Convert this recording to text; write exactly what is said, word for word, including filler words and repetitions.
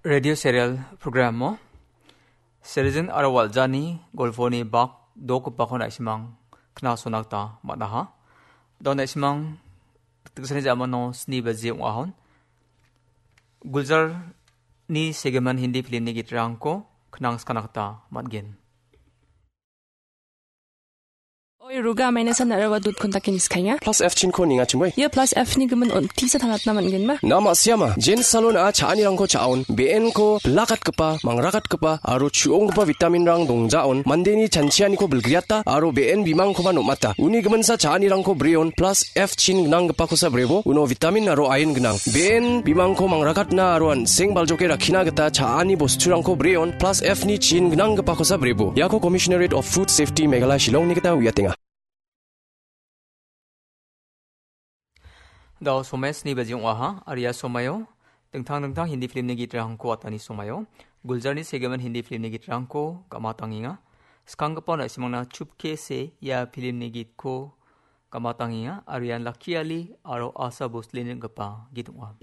Radio serial programo Serijin aro Waljani golponi bak dokgipako na·simang knasona gita man·aha. Da·o na·simang tiksani jamano sni baji ong·ahon. Gulzarni segimin Hindi filmni gitrangko knangskana gita man·gen. Oi, Ruga, maina san narawa dut kontakin iskainga. Plus F chinko ninga chimoi. Ia plus F ni gimin on tisa tanatna man·genma. Na ma siama, Jen Salon a cha·anirangko cha·on, be·enko bilakatgipa, mangrakatgipa, aro chu·onggipa vitaminrang dongjaon, mandeni chanchianiko bilgriata, aro be·en bimangkoba nom·ata. Uni giminsa cha·anirangko breon, plus F chin gnanggipakosa brebo, uno vitamin aro iron gnang. Be·en bimangko mangrakatna aro an·seng baljoke rakkina gita cha·ani bosturangko breon, plus F ni chin gnanggipakosa brebo. Iako Commissionerate of Food Safety Meghalaya Shillongni gita uiatenga. Da·o somai sni baji ong·aha, aro ia somaio dingtang dingtang Hindi filmni gitrangko atani somaio, Gulzarni segimin Hindi filmni gitrangko gamatangenga. Skanggipa na·simangna Chupke Se ia filmni gitko gamatangenga, aro ian Lucky Ali aro Asha Bhosle-ni ring·gipa git ong·a.